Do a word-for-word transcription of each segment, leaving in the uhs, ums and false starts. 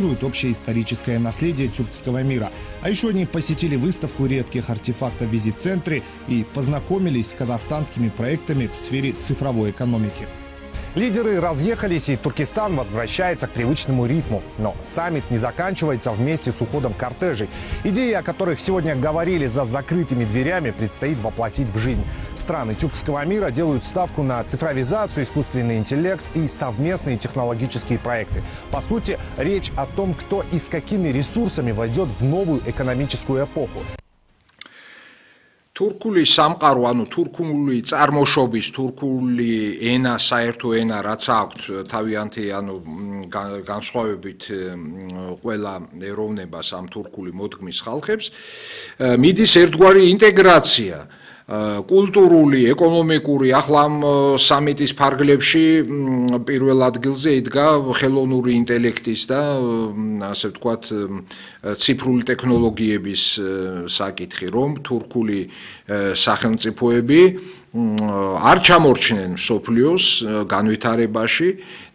Общее историческое наследие тюркского мира. А еще они посетили выставку редких артефактов в визит-центре и познакомились с казахстанскими проектами в сфере цифровой экономики. Лидеры разъехались, и Туркестан возвращается к привычному ритму. Но саммит не заканчивается вместе с уходом кортежей. Идеи, о которых сегодня говорили за закрытыми дверями, предстоит воплотить в жизнь. Страны тюркского мира делают ставку на цифровизацию, искусственный интеллект и совместные технологические проекты. По сути, речь о том, кто и с какими ресурсами войдет в новую экономическую эпоху. Თურქული სამყარო, ანუ თურქული წარმოშობის, თურქული ენა, საერთო ენა, რაც აქვთ თავიანთი, ანუ განსხვავებით ყველა ეროვნებას ამ თურქული მოდგმის ხალხებს, მიდის ერთგვარი ინტეგრაცია. კულტურული, ეკონომიკური, ახლა ამ სამიტის ფარგლებში პირველ ადგილზე იდგა ხელოვნური ინტელექტის და ასე ვთქვათ ციფრული ტექნოლოგიების საკითხი, რომ თურქული სახელმწიფოები არ ჩამორჩნენ მსოფლიოს განვითარებაში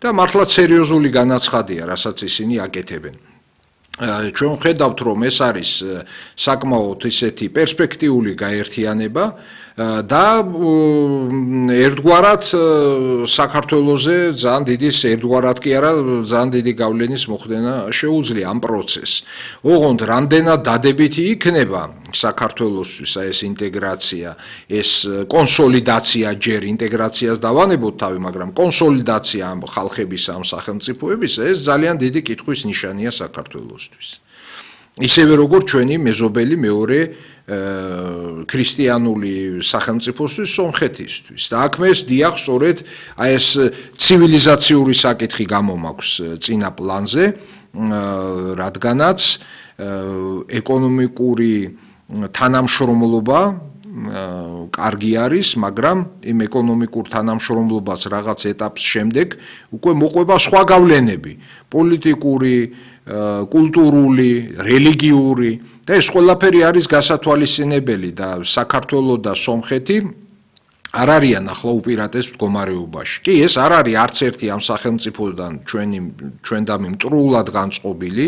და მართლაც სერიოზული განაცხადია, რასაც ისინი აკეთებენ. ჩვენ ხედავთ, რომ ეს არის საკმაოდ ისეთი პერსპექტიული გაერთიანება და ერთგვარად საქართველოზე ძალიან დიდი ერთგვარად კი არა, ძალიან დიდი გავლენის მოხდენა შეუძლია ამ პროცესს. ოღონდ რამდენად დადებითი იქნება საქართველოსთვის ეს ინტეგრაცია, ეს კონსოლიდაცია, ჯერ ინტეგრაციას დავანებოთ თავი, მაგრამ კონსოლიდაცია ამ ხალხების, ამ სახელმწიფოების, ეს ძალიან დიდი კითხვის ნიშანია საქართველოსთვის. ისევე როგორც ჩვენი მეზობელი მეორე ქრისტიანული სახელმწიფოსთვის, სომხეთისთვის. და აქ მე დიახ, სწორედ აი ეს ცივილიზაციური საკითხი გამომაქვს წინა პლანზე, რადგანაც ეკონომიკური თანამშრომლობა კარგი არის, მაგრამ იმ ეკონომიკურ თანამშრომლობას რაღაც ეტაპს შემდეგ უკვე მოყვება სხვა გავლენები, პოლიტიკური, კულტურული, რელიგიური და ეს ყველაფერი არის გასათვალისწინებელი და საქართველო და სომხეთი არ არიან ახლა უპირატეს მდგომარეობაში. კი, ეს არ არის არც ერთი ამ სახელმწიფოდან ჩვენი ჩვენდამი მტრულად განწყობილი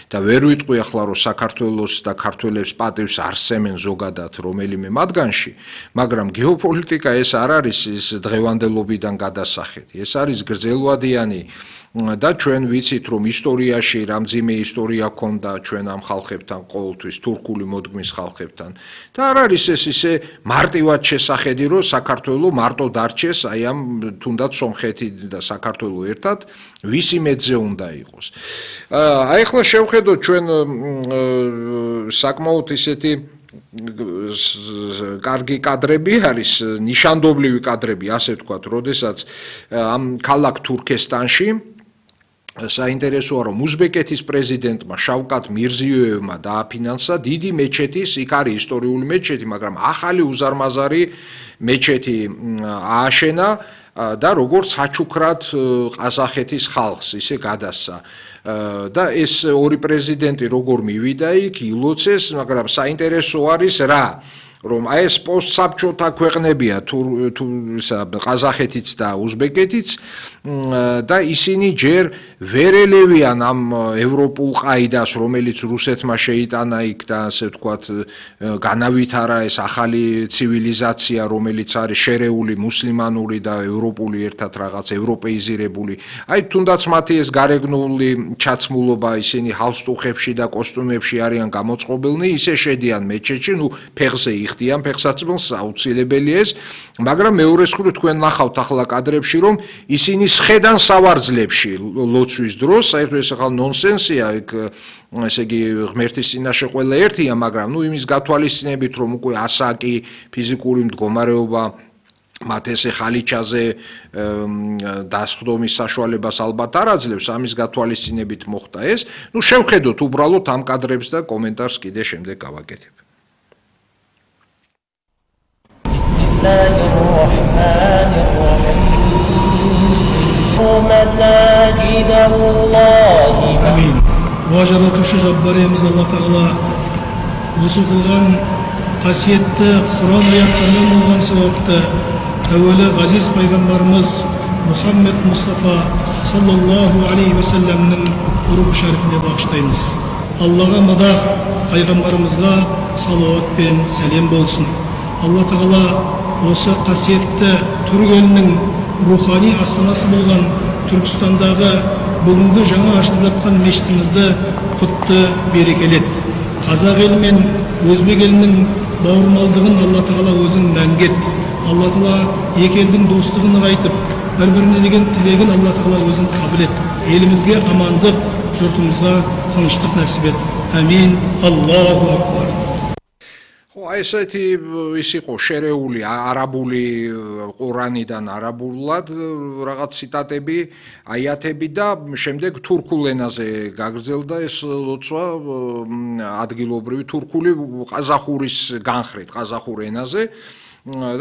და ვერ ვიტყვი ახლა რომ საქართველოს და ქართველებს პატივს არსემენ ზოგადად რომელიმე მათგანში, მაგრამ გეოპოლიტიკა ეს არ არის ის დღევანდელობიდან გადასახეთი. ეს არის გრძელვადიანი და ჩვენ ვიცით, რომ ისტორიაში რამძიმე ისტორია ჰქონდა ჩვენ ამ ხალხებთან, ყოველთვის თურქული მოდგმის ხალხებთან. და არ არის ეს ისე მარტივად შესახედი, რომ საქართველო მარტო დარჩეს აი ამ თუნდაც სომხეთი და საქართველო ერთად, ვისი მეძე უნდა იყოს. აი ახლა შევხედოთ ჩვენ საკმაოდ ისეთი კარგი კადრები არის, ნიშანდობლივი კადრები, ასე ვთქვათ, როდესაც ამ ქალაქ თურქესტანში საინტერესოა, რომ უზბეკეთის პრეზიდენტმა შავკატ მირზიოევმა დააფინანსა დიდი მეჩეთის, იქ არის ისტორიული მეჩეთი, მაგრამ ახალი უზარმაზარი მეჩეთი ააშენა და როგორც საჩუქრად ყაზახეთის ხალხს ისე გადასცა. და ეს ორი პრეზიდენტი როგორ მივიდა იქ, ილოცეს, მაგრამ საინტერესო არის რა, რომ აი ეს პოსტსაბჭოთა ქვეყნებია ყაზახეთიც და უზბეკეთიც და ისინი ჯერ ვერ ელევიან ამ ევროპულ ყაიდას, რომელიც რუსეთმა შეიტანა იქ და ასე ვთქვათ განავითარა ეს ახალი ცივილიზაცია, რომელიც არის შერეული მუსლიმანური და ევროპული ერთად რაღაც ევროპეიზირებული. აი თუნდაც მათი ეს გარეგნული ჩაცმულობა, ისინი ჰალსტუხებში და კოსტუმებში არიან გამოწყობილნი, ისე შედიან მეჩეთში, ნუ ფეხზე იხდიან ფეხსაცმელს, აუცილებელია ეს, მაგრამ მეორე მხრივ თქვენ ნახავთ ახლა კადრებში, რომ ისინი სხედან სავარძლებში ლოცვის დროს, საერთოდ ეს ახლა ნონსენსია, იქ ესე იგი ღმერთის წინაშე ყველა ერთია, მაგრამ ნუ იმის გათვალისწინებით, რომ უკვე ასაკი, ფიზიკური მდგომარეობა მათ ესე ხალიჩაზე დასხდომის საშუალებას ალბათ არ აძლევს, ამის გათვალისწინებით მოხდა ეს. ნუ შევხედოთ უბრალოდ ამ კადრებს და კომენტარს კიდე შემდეგ გავაკეთებ. Амин. Важаратушы Жаббарымыз Алла Тағала осы қылған қасиетті Құран аяттарынан болған сауапты әуелі ғазиз пайғамбарымыз Muhammed Mustafa sallallahu aleyhi ve sellem'nin ruhu şerifine bağışlayınız. Allah'a madah, Peygamberimizga salavat ben selam bolsun. Allah Teala осы қасиетті түрік елінің рухани астанасы болған Түркістандағы бүгінгі жаңа ашылып жатқан мешітімізді құтты берекелет. Қазақ елі мен өзбек елінің бауырмалдығын Алла Тағала өзің мәңгет. Алла Тағала екі елдің достығын нығайтып, бір-біріне деген тілегін Алла Тағала өзің қабыл ет. Елімізге амандық, жұртымызға тыныштық нәсіп ет. Амин. Аллаху акбар. ესეთი ის იყო შერეული არაბული ყურანიდან არაბულად რაღაც ციტატები, აიათები და შემდეგ თურქულ ენაზე გაგრძელდა ეს ლოცვა ადგილობრივი თურქული ყაზახურის განხრით, ყაზახურ ენაზე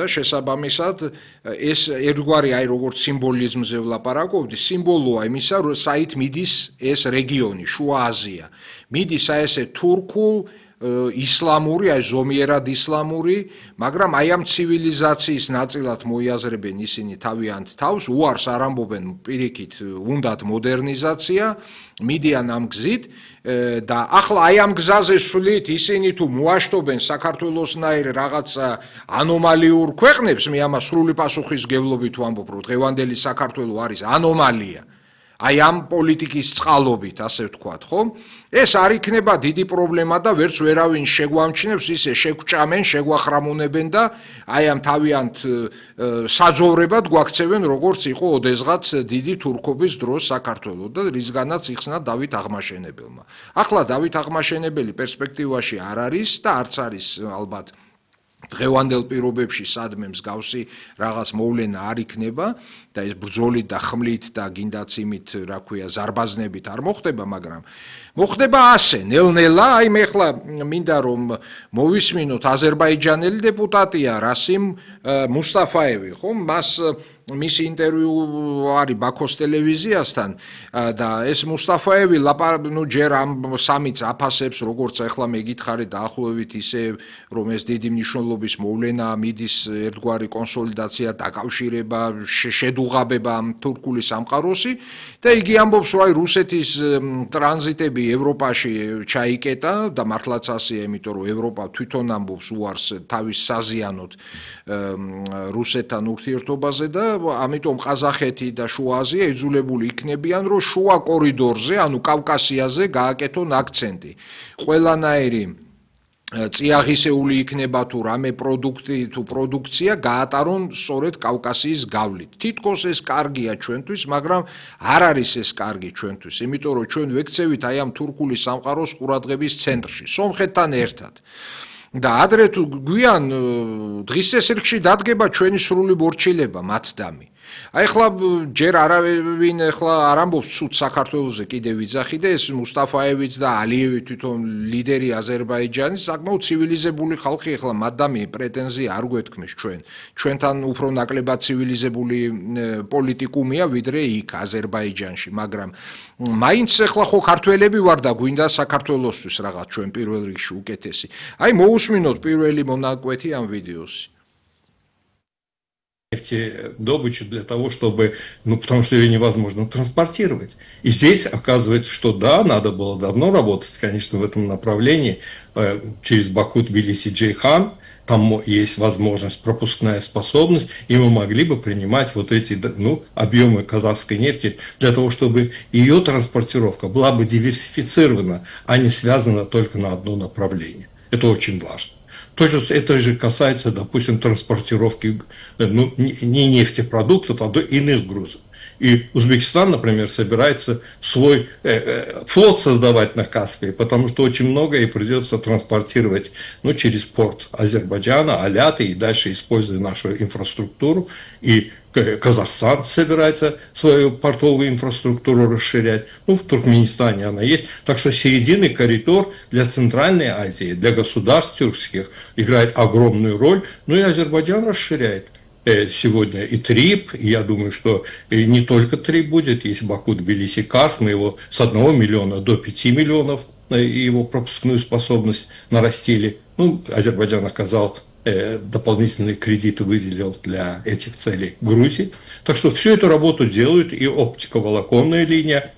და შესაბამისად ეს ერთგვარი აი როგორც სიმბოლიზმზე ვლაპარაკობდი, სიმბოლოა იმისა, საით მიდის ეს რეგიონი, შუა აზია. მიდის აი ესე თურქულ ისლამური, აი ზომიერად ისლამური, მაგრამ აი ამ ცივილიზაციის ნაწილად მოიაზრებენ ისინი თავიანთ თავს, უარს არ ამბობენ პირიქით, უნდათ მოდერნიზაცია, მიდიან ამ გზით და ახლა აი ამ გზაზე სვლით ისინი თუ მოაშტობენ საქართველოსნაირ რაღაც ანომალიურ ქვეყნებს, მე ამას სრული პასუხისმგებლობით ვამბობ, რომ დღევანდელი საქართველო არის ანომალია. აი ამ პოლიტიკის წყალობით, ასე ვთქვათ, ხო? ეს არ იქნება დიდი პრობლემა და ვერც ვერავინ შეგვამჩნევს, ისე შეგვჭამენ, შეგვახრამუნებენ და აი ამ თავიანთ საძოვრებად გვაქცევენ, როგორც იყო ოდესღაც დიდი თურქობის დროს საქართველო და რისგანაც იხსნა დავით აღმაშენებელმა. ახლა დავით აღმაშენებელი პერსპექტივაში არ არის და არც არის ალბათ დღევანდელ პირობებში სადმე მსგავსი რაღაც მოვლენა არ იქნება და ეს ბრძოლით და ხმლით და გინდაც იმით, რა ქვია, ზარბაზნებით არ მოხდება, მაგრამ მოხდება ასე, ნელ-ნელა, აი მე ხლა მინდა რომ მოვისმინოთ აზერბაიჯანელი დეპუტატია რასიმ მუსტაფაევი, ხო? მას მისი ინტერვიუ არის ბაქოს ტელევიზიასთან და ეს მუსტაფაევი ნუ ჯერ ამ სამიც აფასებს, როგორც ახლა მე გითხარით დაახლოებით ისე, რომ ეს დიდი მნიშვნელობის მოვლენა, მიდის ერთგვარი კონსოლიდაცია, დაკავშირება, შედუღაბება ამ თურქული სამყაროსი და იგი ამბობს, რომ აი რუსეთის ტრანზიტები ევროპაში ჩაიკეტა და მართლაც ასეა, იმიტომ რომ ევროპა თვითონ ამბობს უარს თავის საზიანოდ რუსეთთან ურთიერთობაზე და ამიტომ ყაზახეთი და შუა აზია იძულებული იქნებიან, რომ შუა კორიდორზე, ანუ კავკასიაზე გააკეთონ აქცენტი. ყველანაირი წიაღისეული იქნება თუ რამე პროდუქტი თუ პროდუქცია გაატარონ სწორედ კავკასიის გავლით. თითქოს ეს კარგია ჩვენთვის, მაგრამ არ არის ეს კარგი ჩვენთვის, იმიტომ რომ ჩვენ ვექცევით აი ამ თურქული სამყაროს ყურადღების ცენტრში, სომხეთთან ერთად. და ადრე თუ გვიან დღის წესრიგში დადგება ჩვენი სრული მორჩილება მათდამი. აი ხლა ჯერ არავინ ხლა არ ამბობს ცუდ საქართველოზე კიდევ ვიძახი და ეს მუსტაფაევიც და ალიევი თვითონ ლიდერი აზერბაიჯანის საკმაოდ ცივილიზებული ხალხი ხლა მათდამი პრეტენზია არ გვეთქმეს ჩვენ. ჩვენთან უფრო ნაკლებად ცივილიზებული პოლიტიკუმია ვიდრე იქ აზერბაიჯანში, მაგრამ მაინც ხლა ხო ქართველები ვარ და გვინდა საქართველოსთვის რაღაც ჩვენ პირველ რიგში უკეთესი. აი მოусმინოთ პირველი მონაკვეთი ამ ვიდეოსი. Добычу для того, чтобы, ну, потому что ее невозможно транспортировать. И здесь оказывается, что да, надо было давно работать, конечно, в этом направлении, э, через Баку, Тбилиси, Джейхан, там есть возможность, пропускная способность, и мы могли бы принимать вот эти, ну, объемы казахской нефти для того, чтобы ее транспортировка была бы диверсифицирована, а не связана только на одно направление. Это очень важно. То же, это же касается, допустим, транспортировки, ну, не нефтепродуктов, а до иных грузов. И Узбекистан, например, собирается свой э, э, флот создавать на Каспии, потому что очень многое придется транспортировать, ну, через порт Азербайджана, Аляты, и дальше, используя нашу инфраструктуру. И Казахстан собирается свою портовую инфраструктуру расширять. Ну, в Туркменистане она есть. Так что серединный коридор для Центральной Азии, для государств тюркских играет огромную роль. Ну и Азербайджан расширяет. Сегодня и Трип, и я думаю, что не только Трип будет, есть Баку, Тбилиси, Карс, мы его с одного миллиона до пяти миллионов его пропускную способность нарастили. Ну, Азербайджан оказал дополнительные кредиты выделил для этих целей Грузии. Так что всю эту работу делают, и оптиковолоконная линия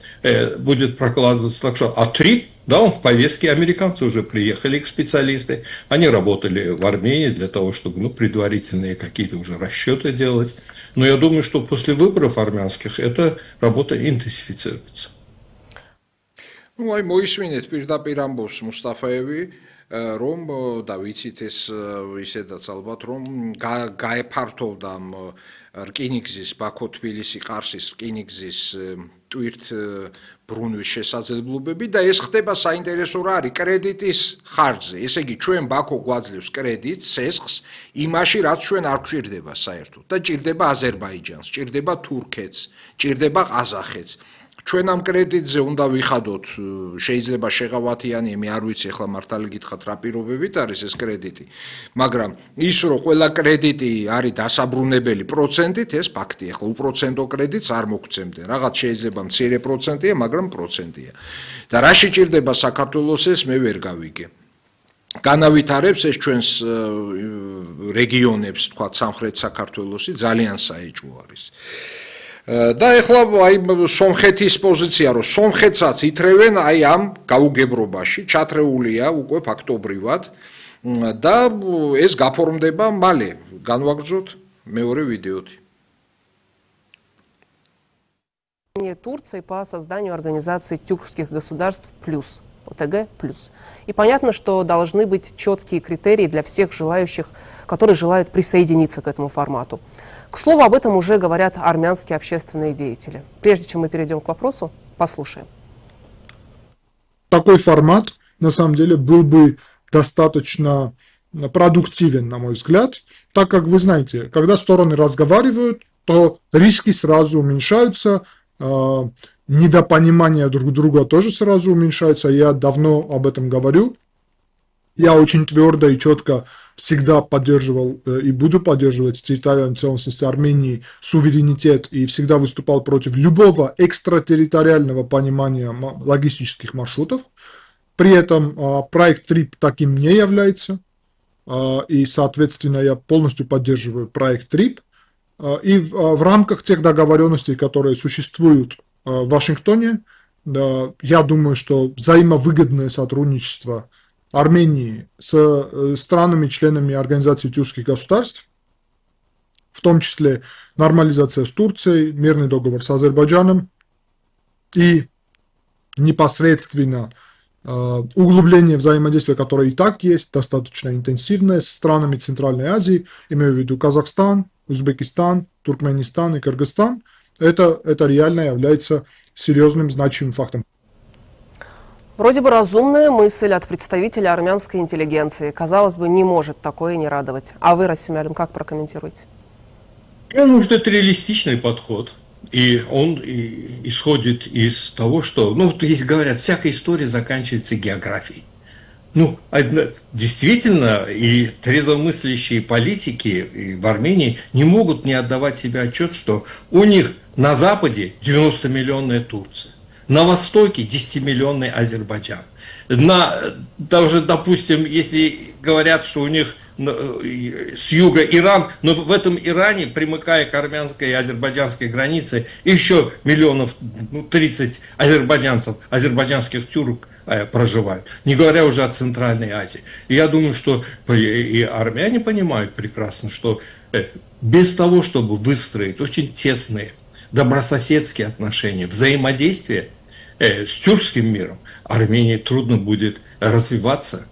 будет прокладываться. Так что, а трип, да, он в повестке, американцы уже приехали, их специалисты, они работали в Армении для того, чтобы ну, предварительные какие-то уже расчеты делать. Но я думаю, что после выборов армянских эта работа интенсифицируется. Ну, აი მოისმინეთ პირდაპირ ამბობს მუსტაფაევი, რომ და ვიცით ეს ისედაც ალბათ რომ გაეფართოვდა რკინიგზის ბაქო-თბილისი-ყარსის რკინიგზის ტვირთ ბრუნვის შესაძლებლობები და ეს ხდება საინტერესო რა არის კრედიტის ხარჯზე. ესე იგი ჩვენ ბაქო გვაძლევს კრედიტს, სესხს იმაში რაც ჩვენ არ გვჭირდება საერთოდ და ჭირდება აზერბაიჯანს, ჭირდება თურქეთს, ჭირდება ყაზახეთს. ჩვენ ამ კრედიტზე უნდა ვიხადოთ, შეიძლება შეღავათიანი, მე არ ვიცი ახლა მართალი გითხრათ რა პირობებით არის ეს კრედიტი, მაგრამ ის რომ ყველა კრედიტი არის დასაბრუნებელი პროცენტით, ეს ფაქტია. ახლა უპროცენტო კრედიტს არ მოგცემდნენ. რაღაც შეიძლება მცირე პროცენტია, მაგრამ პროცენტია. და რა შეჭirdება საქართველოს ეს მე ვერ გავიგე. განავითარებს ეს ჩვენს რეგიონებს, თქვა სამხრეთ საქართველოსი ძალიან საეჭვო არის. და ეხლა აი სომხეთის პოზიცია რომ სომხეთსაც ითრევენ აი ამ გაუგებრობაში ჩათრეულია უკვე ფაქტობრივად და ეს გაფორმდება მალე განვაგრძოთ მეორე ვიდეოთი. Турции по созданию организации тюркских государств плюс, ОТГ плюс. И понятно, что должны быть четкие критерии для всех желающих, которые желают присоединиться к этому формату. К слову, об этом уже говорят армянские общественные деятели. Прежде чем мы перейдем к вопросу, послушаем. Такой формат, на самом деле, был бы достаточно продуктивен, на мой взгляд, так как, вы знаете, когда стороны разговаривают, то риски сразу уменьшаются, э, недопонимание друг друга тоже сразу уменьшается. Я давно об этом говорю. Я очень твердо и четко всегда поддерживал э, и буду поддерживать территориальную целостность Армении, суверенитет, и всегда выступал против любого экстратерриториального понимания логистических маршрутов. При этом э, проект ТРИП таким не является, э, и, соответственно, я полностью поддерживаю проект ТРИП. Э, и в, э, в рамках тех договоренностей, которые существуют э, в Вашингтоне, да, я думаю, что взаимовыгодное сотрудничество Армении с странами-членами Организации тюркских государств, в том числе нормализация с Турцией, мирный договор с Азербайджаном и непосредственно э, углубление взаимодействия, которое и так есть, достаточно интенсивное, с странами Центральной Азии, имею в виду Казахстан, Узбекистан, Туркменистан и Кыргызстан, это, это реально является серьезным значимым фактом. Вроде бы разумная мысль от представителя армянской интеллигенции. Казалось бы, не может такое не радовать. А вы, Расим Алим, как прокомментируете? Я думаю, что это реалистичный подход. И он и исходит из того, что, ну, вот здесь говорят, всякая история заканчивается географией. Ну, действительно, и трезвомыслящие политики и в Армении не могут не отдавать себе отчет, что у них на Западе девяностомиллионная Турция. На востоке десятимиллионный Азербайджан. На, даже, допустим, если говорят, что у них с юга Иран, но в этом Иране, примыкая к армянской и азербайджанской границе, еще миллионов ну, тридцать азербайджанцев, азербайджанских тюрок э, проживают. Не говоря уже о Центральной Азии. И я думаю, что и армяне понимают прекрасно, что э, без того, чтобы выстроить очень тесные добрососедские отношения, взаимодействие э, с тюркским миром, Армении трудно будет развиваться.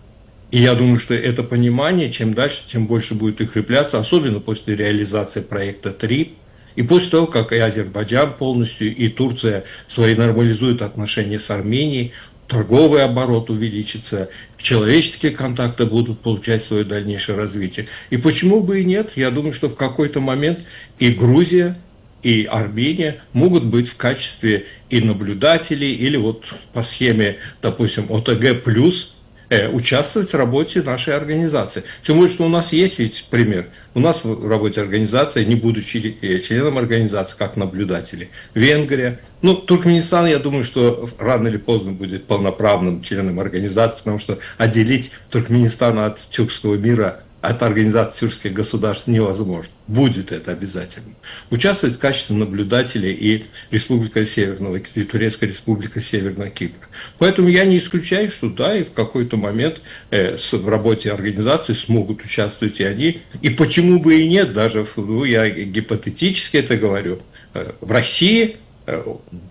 И я думаю, что это понимание, чем дальше, тем больше будет укрепляться, особенно после реализации проекта ТРИП, и после того, как и Азербайджан полностью, и Турция свои нормализуют отношения с Арменией, торговый оборот увеличится, человеческие контакты будут получать свое дальнейшее развитие. И почему бы и нет? Я думаю, что в какой-то момент и Грузия, и Армения могут быть в качестве и наблюдателей, или вот по схеме, допустим, ОТГ плюс, э, участвовать в работе нашей организации. Тем более, что у нас есть ведь пример. У нас в работе организации, не будучи членом организации, как наблюдатели, Венгрия. Ну, Туркменистан, я думаю, что рано или поздно будет полноправным членом организации, потому что отделить Туркменистан от тюркского мира от организации тюркских государств невозможно. Будет это обязательно. Участвовать в качестве наблюдателей и Республика Северного, и Турецкая Республика Северного Кипра. Поэтому я не исключаю, что да, и в какой-то момент э, в работе организации смогут участвовать и они. И почему бы и нет, даже ну, я гипотетически это говорю, э, в России э,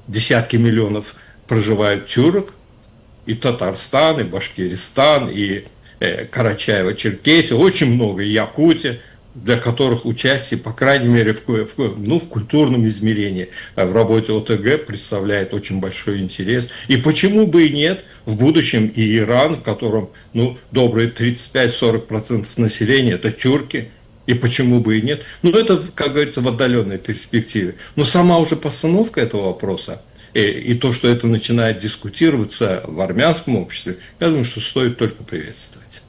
десятки миллионов проживают тюрок, и Татарстан, и Башкиристан, и Карачаево-Черкесия, очень много, и Якутия, для которых участие, по крайней мере, в, в, ну, в культурном измерении в работе ОТГ представляет очень большой интерес. И почему бы и нет, в будущем и Иран, в котором ну, добрые тридцать пять - сорок процентов населения – это тюрки, и почему бы и нет. Ну, это, как говорится, в отдаленной перспективе. Но сама уже постановка этого вопроса, и, и то, что это начинает дискутироваться в армянском обществе, я думаю, что стоит только приветствовать.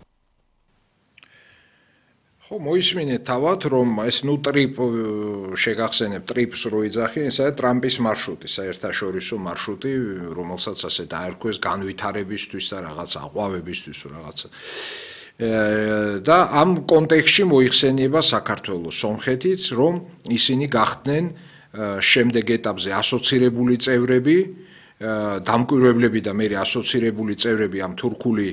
ხო მოისმინეთ თავად რომ ეს ნუ ტრიპ შეგახსენებ ტრიპს რო იძახი ესაა ტრამპის მარშრუტი საერთაშორისო მარშრუტი რომელსაც ასე დაერქვეს განვითარებისთვის და რაღაც აყვავებისთვის რაღაცა და ამ კონტექსტში მოიხსენიება საქართველოს სომხეთიც რომ ისინი გახდნენ შემდეგ ეტაპზე ასოცირებული წევრები დამკვირვებლები და მე ასოცირებული წევრები ამ თურქული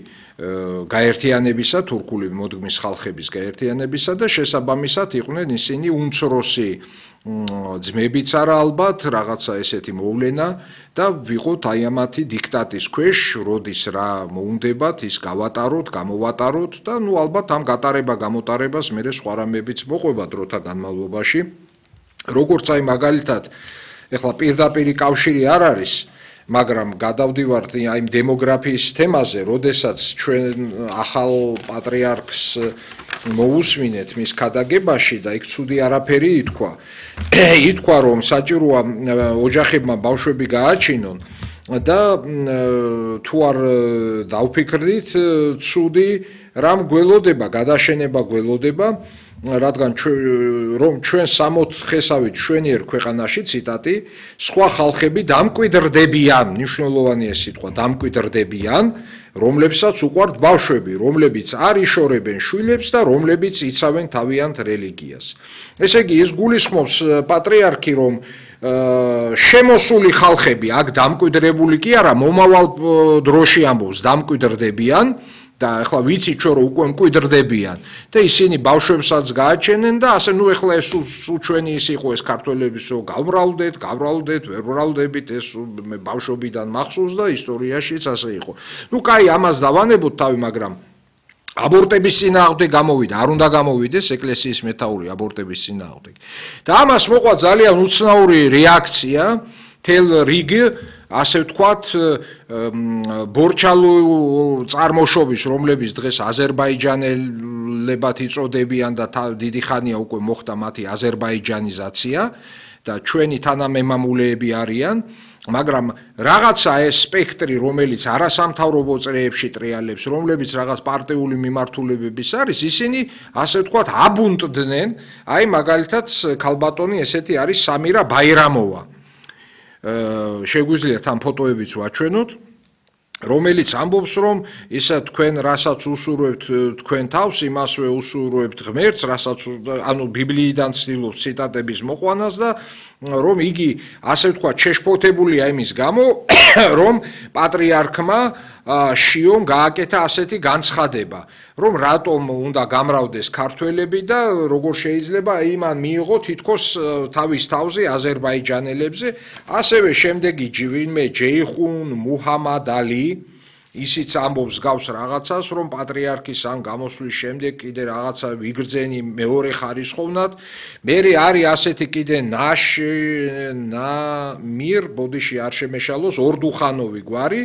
გაერთიანებისა, თურქული მოდგმის ხალხების გაერთიანებისა და შესაბამისად იყვნენ ისინი უმცროსი ძმებიც არა ალბათ, რაღაცა ესეთი მოვლენა და ვიყოთ აი ამათი დიქტატის ქვეშ, როდის რა მოუნდებათ, ის გავატაროთ, გამოვატაროთ და ნუ ალბათ ამ გატარება გამოტარებას მე სხვა რამებიც მოყვება დროთა განმავლობაში. როგორც აი მაგალითად, ეხლა პირდაპირი კავშირი არ არის, მაგრამ გადავდივართ აი დემოგრაფიის თემაზე, როდესაც ჩვენ ახალ პატრიარქს მოусმინეთ მის ქადაგებაში და იქ ცუდი არაფერი ითქვა. ითქვა რომ საჭიროა ოჯახებმა ბავშვები გააჩინონ და თუ არ დავფიქრდით ცუდი რამ გველოდება, გადაშენება გველოდება, რადგან რომ ჩვენ სამოთხესავით შვენიერ ქვეყანაში ციტატი სხვა ხალხები დამკვიდრდებიან, მნიშვნელოვანია სიტყვა დამკვიდრდებიან, რომლებსაც უყვართ ბავშვები, რომლებიც არ იშორებენ შვილებს და რომლებიც იცავენ თავიანთ რელიგიას. ესე იგი ეს გულისხმობს პატრიარქი რომ შემოსული ხალხები აქ დამკვიდრებული კი არა, მომავალ დროში ამბობს დამკვიდრდებიან და ახლა ვიცით რომ უკვე მკვიდრდებიან და ისინი ბავშვებსაც გააჩენენ და ასე ნუ ახლა ეს უჩვენი ის იყო ეს ქართველების რომ გავრალდეთ, გავრალდეთ, ვერ ვრალდებით ეს მე ბავშვობიდან მახსოვს და ისტორიაშიც ასე იყო. ნუ კაი ამას დავანებოთ თავი, მაგრამ აბორტების წინააღმდეგ გამოვიდა, არ უნდა გამოვიდეს ეკლესიის მეთაური აბორტების წინააღმდეგ. და ამას მოყვა ძალიან უცნაური რეაქცია თელ რიგ ასე ვთქვათ ბორჩალო წარმოშობის, რომლებიც დღეს აზერბაიჯანელებად იწოდებიან და დიდი ხანია უკვე მოხდა მათი აზერბაიჯანიზაცია და ჩვენი თანამემამულეები არიან, მაგრამ რაღაცა ეს სპექტრი, რომელიც არასამთავრობო წრეებში ტრიალებს, რომლებიც რაღაც პარტიული მიმართულებების არის, ისინი ასე ვთქვათ აბუნტდნენ, აი მაგალითად ქალბატონი ესეთი არის სამირა ბაირამოვა. შეგვიძლიათ ამ ფოტოებიც ვაჩვენოთ, რომელიც ამბობს რომ ისა თქვენ რასაც უსურვებთ თქვენ თავს, იმასვე უსურვებთ ღმერთს, რასაც ანუ ბიბლიიდან ცდილობს ციტატების მოყვანას და რომ იგი ასე ვთქვათ შეშფოთებულია იმის გამო, რომ პატრიარქმა შიომ გააკეთა ასეთი განცხადება, რომ რატომ უნდა გამრავდეს ქართველები და როგორ შეიძლება იმან მიიღო თითქოს თავის თავზე აზერბაიჯანელებზე, ასევე შემდეგი ვინმე ჯეიხუნ მუჰამად ალი ისიც ამბობს გავს რაღაცას, რომ პატრიარქის ამ გამოსვლის შემდეგ კიდე რაღაცა ვიგრძენი მეორე ხარისხოვნად. მერე არის ასეთი კიდე ნაშ ნამირ ბოდიში არ შემეშალოს ორდუხანოვი გვარი,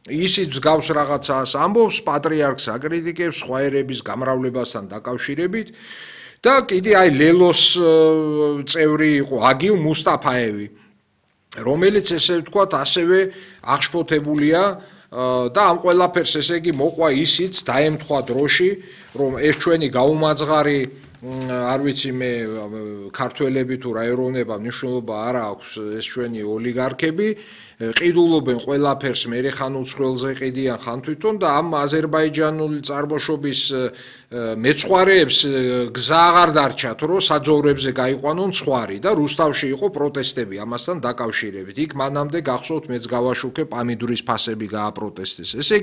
ისიც გავს რაღაცას ამბობს, პატრიარქს აკრიტიკებს სხვა ერების გამრავლებასთან დაკავშირებით და კიდე აი ლელოს წევრი იყო აგილ მუსტაფაევი, რომელიც ესე ვთქვათ ასევე აღშფოთებულია და ამ ყველაფერს ესე იგი მოყვა ისიც დაემთხვა დროში, რომ ეს ჩვენი გაუმაძღარი არ ვიცი მე ქართველები თუ რა ეროვნება მნიშვნელობა არ აქვს ეს ჩვენი ოლიგარქები ყიდულობენ ყველაფერს, მერე ხან უცხოელზე ყიდიან, ხან თვითონ და ამ აზერბაიჯანული წარმოშობის მეცხვარეებს გზა აღარ დარჩათ, რომ საძოვრებზე გაიყვანონ ცხვარი და რუსთავში იყო პროტესტები ამასთან დაკავშირებით. იქ მანამდე გახსოვთ მეც გავაშუქე პამიდურის ფასები გააპროტესტეს. ესე იგი